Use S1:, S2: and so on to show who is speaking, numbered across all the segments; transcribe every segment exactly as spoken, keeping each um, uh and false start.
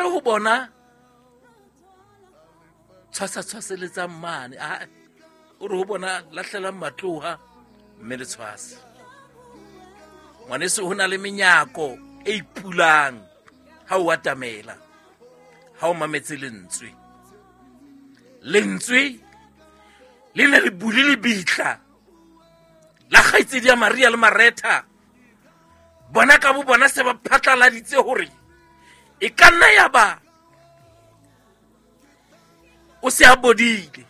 S1: re ho bona tshwasa tshwaseletsang mane, a o re ho bona lahlelang matloha mme le tshwase. Ngwaneso, ho na le menyako e ipulang ha o atamela, ha o mametse lentswe. Lentswe le ne le bule lebitla la kgaitsedi ya Maria le Maretha. Bona ka bo bona se ba phatlaladitse hore e ka nna ya ba o se a bodile.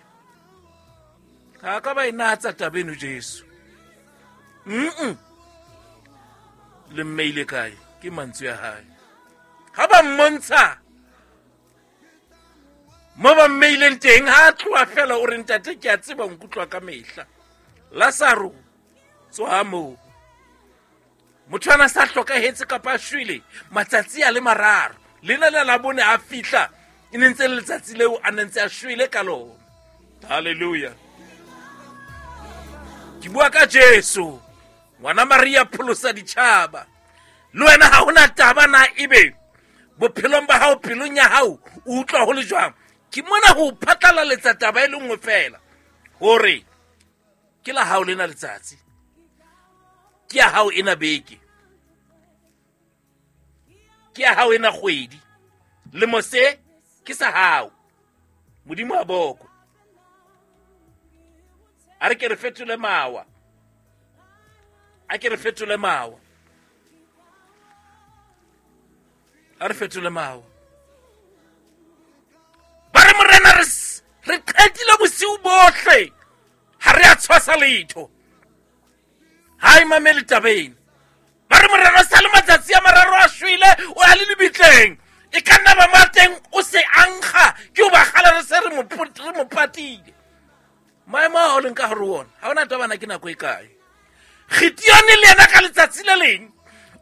S1: Ha ka ba e natsa taba eno Jesu. Mm-mm. Le mmeile kae? Ke mantswe a hae. Ha ba mmontsha mo ba mmeileng teng, ha a tloha fela o re, ntate ke a tseba o nkutlwa ka mehla. Lazaro, tswa moo. Motho ana sa hlokahetse kapa a shwele matsatsi a le mararo. Lena le la bone a fihla, e ne ntse le letsatsi leo a ne ntse a shwele ka lona. Hallelujah. Ke bua ka Jesu, ngwana Maria pholosa ditjhaba. Le wena ha hona taba na ebe bophelong ba hao, pelong ya hao o utlwa ho le jwang. Ke mona ho phatlalaletsa taba e le nngwe fela, hore ke la hao lena letsatsi, ke ya hao ena beke, ke ya hao ena kgwedi, lemo se ke sa hao. Modimo a bokwe. A re ke re fetole mawa, a ke re fetole mawa, a re fetole mawa. Ba re morena re re qetile bosiu bohle, ha re a tshwasa letho. Ha e mamele taba ena. Ba re morena o sa le matsatsi a mararo a shwele, o a le lebitleng. E ka nna ba mo teng o se ankga, ke o ba kgala re se re mo re mo patile. Maemo a o leng ka hare ho ona, ha hona taba na ke nako e kae. Gideone le yena ka letsatsi le leng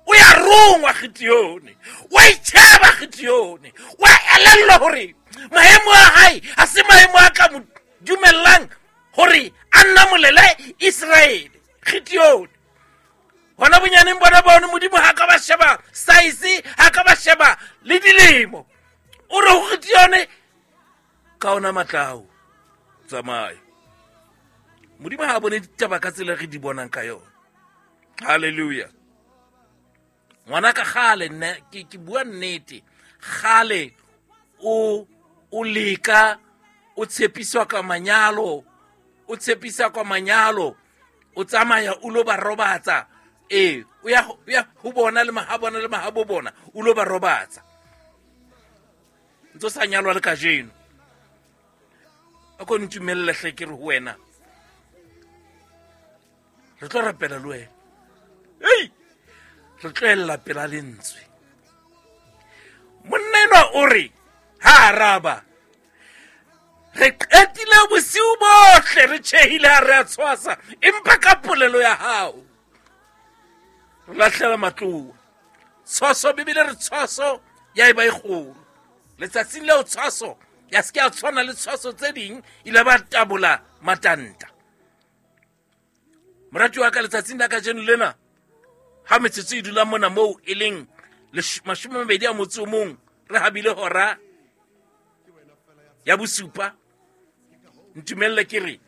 S1: o ya rongwa Gideone, wa itjheba Gideone, wa elellwa hore maemo a hae ha se maemo a ka mo dumellang hore a nnamolele Israele. Gideone hona bonyaneng bona bone Modimo ha ka ba sheba size, ha ka ba sheba le dilemo. O re ho Gideone, ka ona matla ao, tsamaya. Modimo ha a bone ditaba ka tsela re di bonang ka yona. Hallelujah. Ngwana ka kgale nna ke ke bua nnete, kgale o o leka, o tshepiswa ka manyalo, o tshepisa ka manyalo, o tsamaya o lo ba robatsa. Eh, o ya o ya ho bona le mahabona le mahabo bona, o lo ba robatsa. Ntso sa nyalwa le kajeno. A ko ntumelle hle ke re ho wena. Re tlo rapela le wena. Ei! Re tlo ella pela lentswe. Monna enwa o re, ha araba, re qetile bosiu bohle re tjhehile ha re a tshwasa, empa ka polelo ya hao re lahlela matloa. Tshwaso, Bibele re tshwaso ya eba e kgolo. Letsatsing leo tshwaso ya se ke ya tshwana le tshwaso tse ding, ile ba tabola matanta. Morati wa ka, letsatsing la kajeno lena, ha metsotso e dula mona moo e leng mashome a mabedi a motso o mong, re habile hora ya bosupa. Ntumelle ke re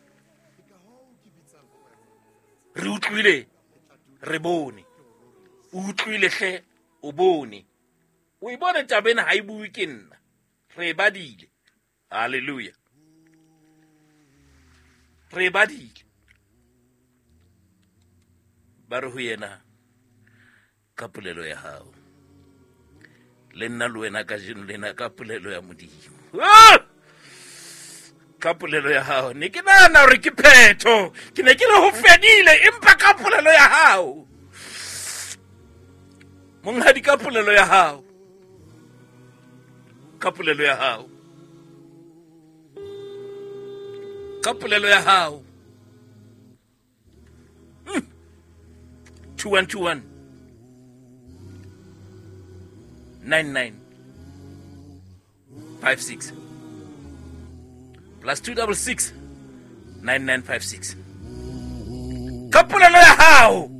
S1: re utlwile, re bone. O utlwile hle, o bone. O e bone taba ena ha e bue ke nna, re e badile. Hallelujah. Re e badile. Ba re ho yena, ka polelo ya hao. Le nna le wena kajeno lena ka polelo ya Modimo. Ah! Ka polelo ya hao. Ne ke nahana hore ke phetho, ke ne ke re ho fedile, empa ka polelo ya hao. Monghadi, ka polelo ya hao. Ka polelo ya hao. Ka polelo ya hao. Mm. two one two one nine nine five six plus two double six nine nine five six. Ka polelo ya hao.